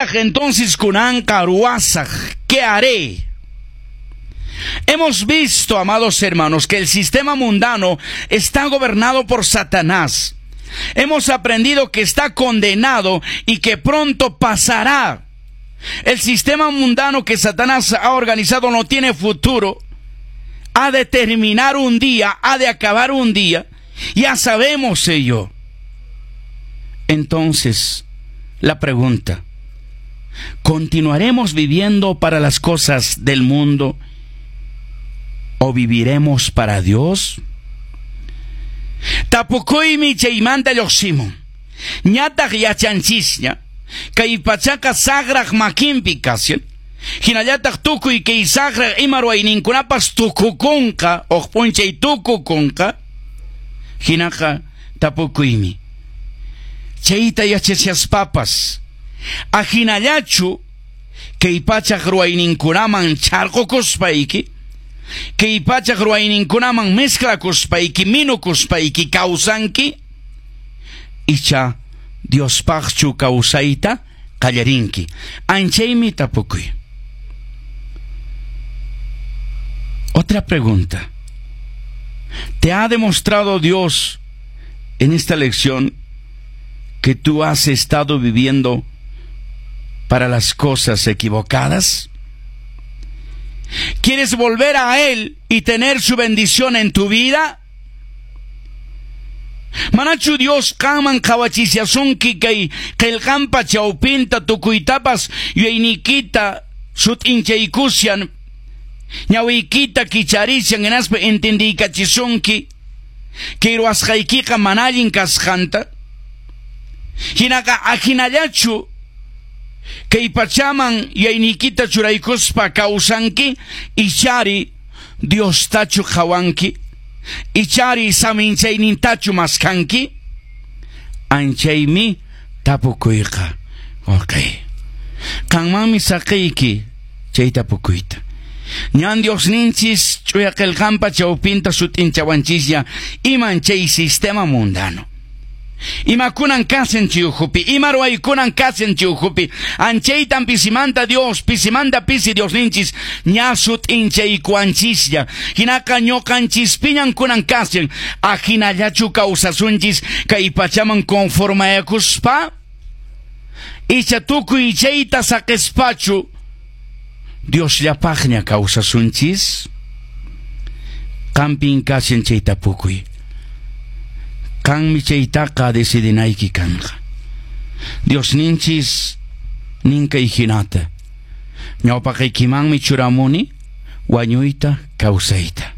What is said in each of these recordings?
Imatataq entonces kunanqa ruwasaq? ¿Qué haré? Hemos visto, amados hermanos, que el sistema mundano está gobernado por Satanás. Hemos aprendido que está condenado y que pronto pasará. El sistema mundano que Satanás ha organizado no tiene futuro. Ha de terminar un día, ha de acabar un día. Ya sabemos ello. Entonces, la pregunta, ¿continuaremos viviendo para las cosas del mundo o viviremos para Dios? Tapukuymi chaymanta lluqsimun. Ñataq yachanchisña, kay pachaqa saqraq makinpi kashan. Hinallataq tukuy kay saqraq ima ruwayninkunapas tukukunqa, huk p'unchay tukukunqa. Hinaqa tapukuymi. Chayta yachachaspapas, ahinallachu kay pachaq ruwayninkunaman chharqukuspayki, kay pachaq ruwayninkunaman mezclakuspayki, minukuspayki kawsanki, icha Diospaqchu kawsayta qallarinki. Anchaymi tapukuy. Otra pregunta. ¿Te ha demostrado Dios en esta lección que tú has estado viviendo para las cosas equivocadas? ¿Quieres volver a Él y tener su bendición en tu vida? Manachu Dios qanman qhawachishasunki kay qillqanpa chawpinta tukuytapas yuyayniykita sut'inchaykushan, ñawiykita kicharishan hinaspa entendiykachisunki kay ruwasqaykiqa mana allin kasqanta? Hinaqa ahinallachu kay pachaman yuyayniykita churaykuspa kawsanki, ichari Diostachu qhawanki, ichari saminchaynintachu maskanki? Anchaymi tapukuyqa. Okay. Qanmanmi saqiyki chay tapukuyta. Ñan Diosninchis ch'uya qillqanpa chawpinta sut'inchawanchisña iman chay sistema mundano. Imakunan kashan chay ukhupi, ima ruwaykunan kashan chay ukhupi. Anchaytan pisimanta Dios, pisimanta pisi Diosninchis ña sut'inchaykuwanchislla. Hinaqa ñuqanchispiñan kunan kashan, ahinallachu kawsasunchis kay pachaman conformayakuspa? Icha tukuy chayta saqispachu Diosllapaqña kawsasunchis? Qampin kashan chay tapukuy. Qanmi chaytaqa decidinayki kanqa. Diosninchis nin kay hinata. Ñawpaqaykimanmi churamuni wañuyta kawsayta.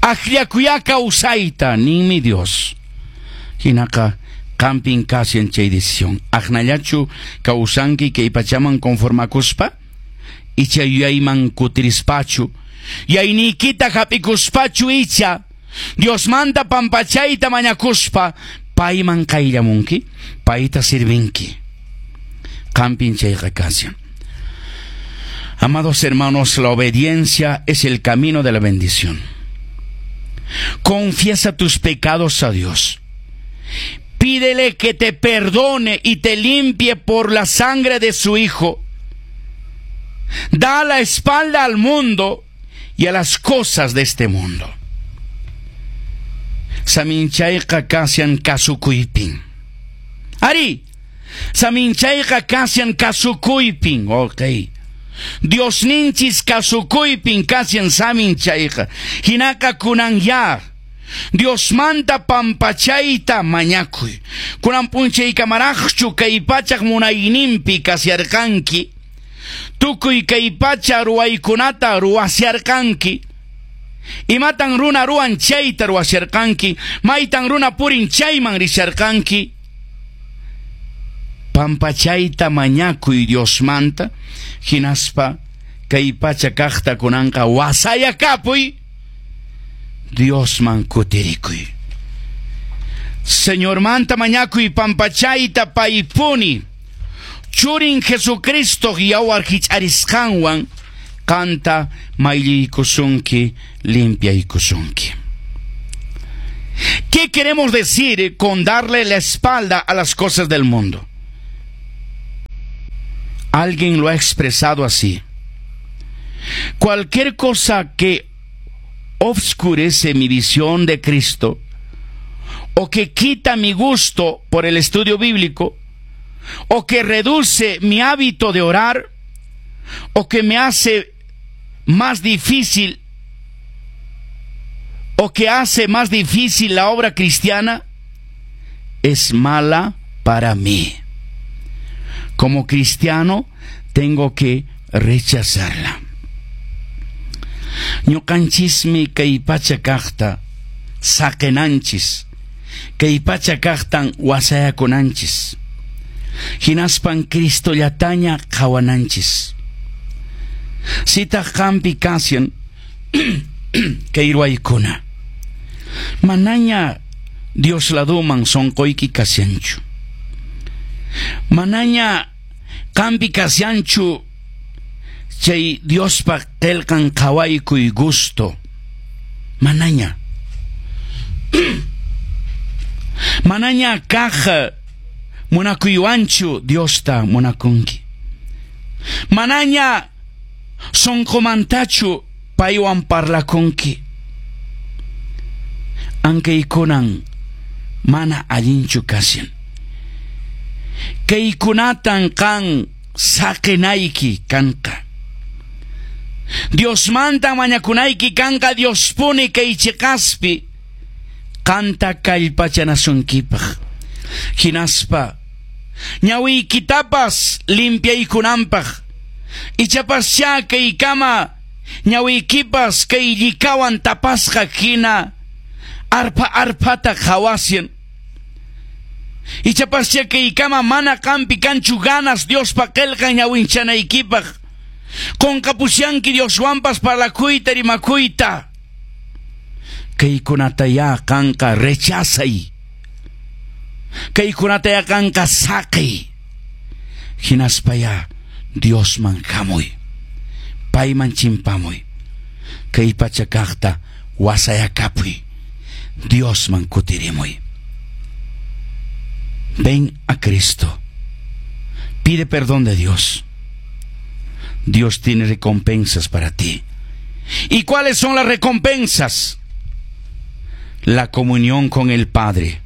Akllakuyá kawsayta ninmi Dios. Hinaqa qampin kashan chay decisión. Aqnallachu kawsanki kay pachaman conformakuspa? Icha yuyayman kutirispachu? Yuyayniykita hap'ikuspachu icha Diosmanta pampachayta mañakuspa payman qayllamunki, payta sirvinki? Qampin chayqa kashan. Amados hermanos, la obediencia es el camino de la bendición. Confiesa tus pecados a Dios. Pídele que te perdone y te limpie por la sangre de su Hijo. Da la espalda al mundo y a las cosas de este mundo. Saminchayqa kashan kasukuypin. Ari, saminchayqa kashan kasukuypin. Ok. Diosninchis kasukuypin kashan saminchayqa. Hinaqa kunanya. Diosmanta pampachayta mañakuy. Kunan p'unchaykamaraqchu kay pachaq munayninpi kasharqanki. Tukuy kay pacha ruwaykunata ruwasharqanki. Imatan runa ruwan chayta ruwasharqanki. Maytan runa purin chayman risharqanki. Pampachayta mañakuy Diosmanta. Hinaspa kay pacha kaqta kunanqa wasayakapuy. Diosman kutirikuy. Señormanta mañakuy pampachayta paypuni. Churin Jesucristo yawar hich'arisqanwan qanta mayllaykusunki, limpiaykusunki. ¿Qué queremos decir con darle la espalda a las cosas del mundo? Alguien lo ha expresado así. Cualquier cosa que obscurece mi visión de Cristo o que quita mi gusto por el estudio bíblico o que reduce mi hábito de orar o que me hace más difícil o que hace más difícil la obra cristiana, es mala para mí. Como cristiano tengo que rechazarla. Ñuqanchismi kay pacha kaqta saqinanchis, kay pacha kaqtan wasayakunanchis. Hinaspan Cristollataña qhawananchis. Sitaq qampi kashan kay ruwaykuna. Manaña Dios laduman sonqoyki kashanchu. Manaña qampi kashanchu chay Diospa qillqan qhawaykuy gusto. Manaña. Manaña kaq munakuywanchu Diosta munakunki. Manaña sonqomantachu paywan parlakunki. Ankaykunan mana allinchu kashan. Kaykunatan qan saqinayki kanqa. Diosmanta mañakunayki kanqa Diospuni kay chiqaspi qanta kallpachanasunkipaq. Hinaspa ñawiykitapas limpiaykunanpaq. Ichapascha kaykama ñawiykipas kay llikawan tapasqa hina arpa arpata qhawashan. Ichapascha kaykama mana qampi kanchu ganas Diospa qillqan ñawinchanaykipaq. Qunqapushanki Dioswanpas parlakuyta rimakuyta. Kaykunata ya qanqa rechazay. Kaykunata ya qanqa saqiy. Hinaspa ya Diosman hamuy. Payman chimpamuy. Kay pacha kaqta wasayakapuy. Diosman kutirimuy. Ven a Cristo. Pide perdón de Dios. Dios tiene recompensas para ti. ¿Y cuáles son las recompensas? La comunión con el Padre.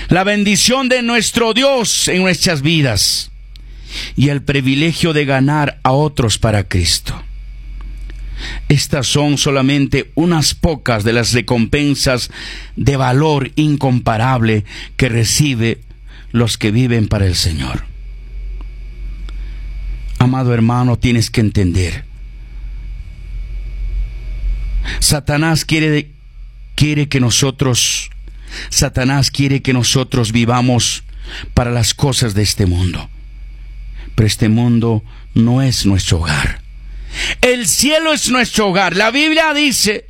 La bendición de nuestro Dios en nuestras vidas. Y el privilegio de ganar a otros para Cristo. Estas son solamente unas pocas de las recompensas de valor incomparable que recibe los que viven para el Señor. Amado hermano, tienes que entender. Satanás quiere que nosotros, Satanás quiere que nosotros vivamos para las cosas de este mundo. Pero este mundo no es nuestro hogar. El cielo es nuestro hogar. La Biblia dice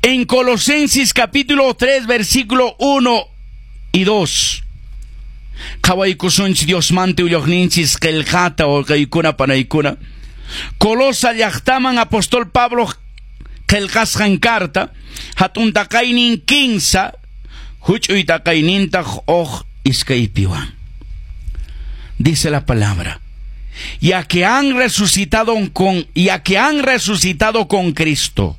en Colosenses capítulo 3, versículo 1 y 2. Qhawaykusunchis Diosmanta willaqninchis qillqata wawqiykuna panaykuna. Colosa llaqtaman apóstol Pablo qillqasqan carta hatun taqaynin 15 huch'uy taqaynintaq uq iskaypiwan. Dice la palabra: ya que han resucitado con Cristo,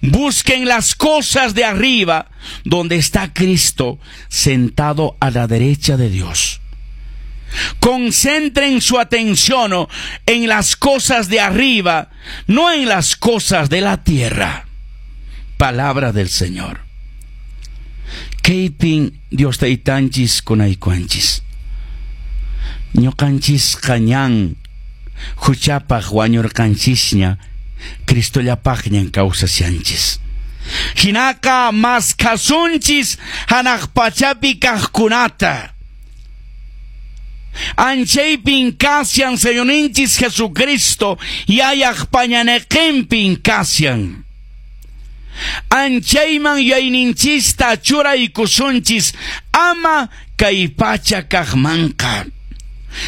busquen las cosas de arriba, donde está Cristo sentado a la derecha de Dios. Concentren su atención en las cosas de arriba, no en las cosas de la tierra. Palabra del Señor. Kaypin Dios taytanchis kunaykuanchis. Ñuqanchis qañan huchapaq wañurqanchisña Cristollapaqñan kawsashanchis. Hinaqa maskasunchis hanaq pachapi kaqkunata. Anchaypin kashan Señorninchis Jesucristo yayaq pañaneqinpin kashan. Anchayman yayninchista churaykusunchis ama kay pacha kaqmanqa.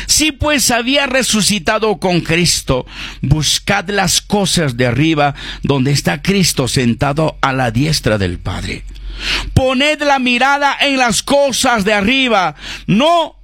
Si pues había resucitado con Cristo, buscad las cosas de arriba, donde está Cristo sentado a la diestra del Padre. Poned la mirada en las cosas de arriba, no